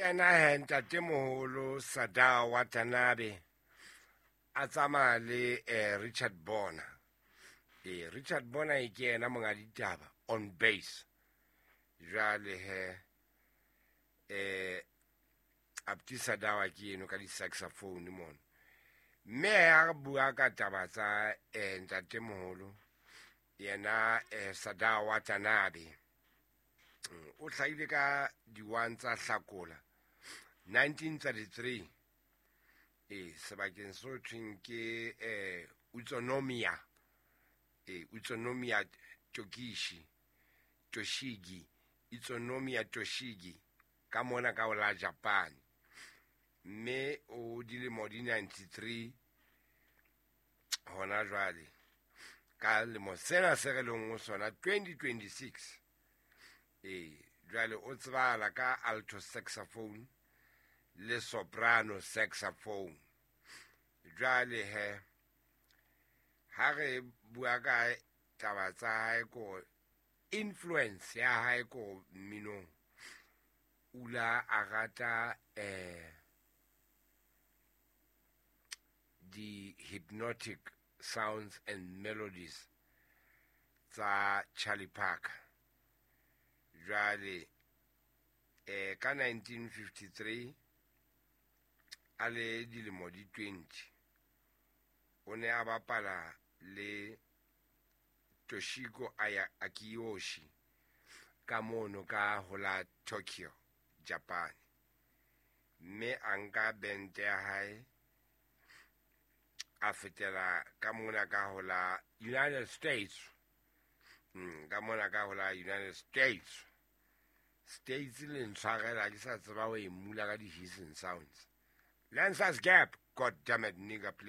Ena he ntatemoholo Sadao Watanabe a tsamaya le Richard Bona. Ee, Richard Bona e ke yena monga ditaba on bass. Jwale he Abdi Sadawa ke eno ka di-saxophone mono. Mme ha re bua ka taba tsa ntatemoholo yena Sadao Watanabe, o hlahile ka di-1 tsa Hlakola 1933, ee, sebakeng se thweng ke Utsunomiya, ee, Utsunomiya Tokishi Toshigi, Utsunomiya Toshigi, ka mona ka ho la Japan. Mme o dilemo di 93 hona jwale, ka lemo sena se re leng ho sona, 2026. Ee, jwale o tsebahala ka alto saxophone le soprano saxophone. Jwale he ha re bua ka taba tsa hae, ko influence ya hae ko mminong, ula a rata di-hypnotic sounds and melodies tsa Charlie Parker. Jwale ka 1953, a le dilemo di 20, o ne a bapala le Toshiko Aya Akiyoshi ka mono ka ho la Tokyo, Japan, mme a nka bente ya hae a fetela ka mona ka ho la United States. Ka mona ka ho la United States le ntshwarela, ke sa tseba ho e mula ka di-hissing sounds. Lancers Gap, god damn it, nigga, please.